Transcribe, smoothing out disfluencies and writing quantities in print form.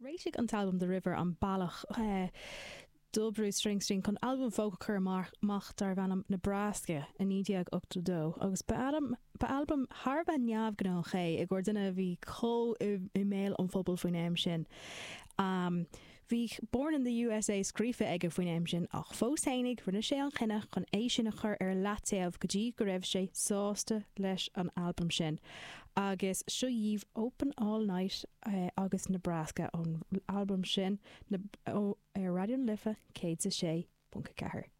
Réitigh an t-albam The River an bealach do Bruce Springsteen chun albam folk a chur amach darbh ainm Nebraska i 1982 agus ba albam thar a bheith neamhghnách é i gcomhair duine a bhí chomh i mbéal an phobail faoin am sin. Bhí Born in the USA scríofa aige faoin am sin ach fós fhéinig rinne sé an chinneadh chun é sin a chur ar leataobh go dtí go raibh sé sásta leis an albam sin. Agus seo dhaoibh Open All Night agus Nebraska ón albam sin ar Raidió na Life 106.4.